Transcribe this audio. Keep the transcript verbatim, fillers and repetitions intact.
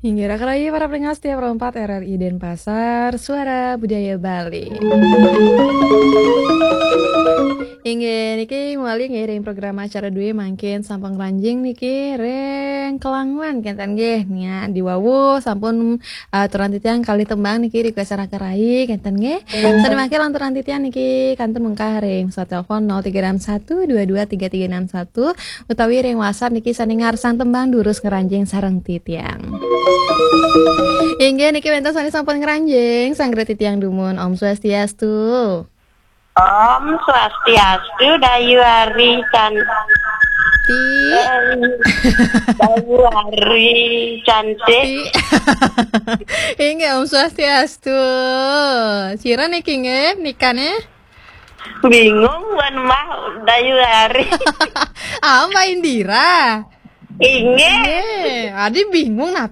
Inggih, raka rayi para pendengar setia Pro empat R R I Denpasar, Suara Budaya Bali. Inggih, niki mawali nggih ring program acara dué mangkin sampun ngranjing niki ring Kelanguan kenten nggih. Nia diwawu sampun, eh, aturan titiang kalih tembang niki request raka rayi kenten nggih. Sané mangkin lanturang titiang niki kantun mungkah ring pesawat telepon nol tiga enam satu dua dua tiga tiga enam satu utawi ring WhatsApp niki sané ngarsang tembang durus ngranjing sareng titiang. Inggih niki wénten sané sampun ngranjing, sanggra titiang dumun. Om Swastiastu. Om Swastiastu, Dayu Ari Can-, Ti. Dayu Ari cantik. Ti. Inggih, Om Swastiastu. Sira niki nggih, nikané? Bingung wan mah Dayu Ari. Ah, Mbak Indira. Inggih. Inggih, adi bingung napa?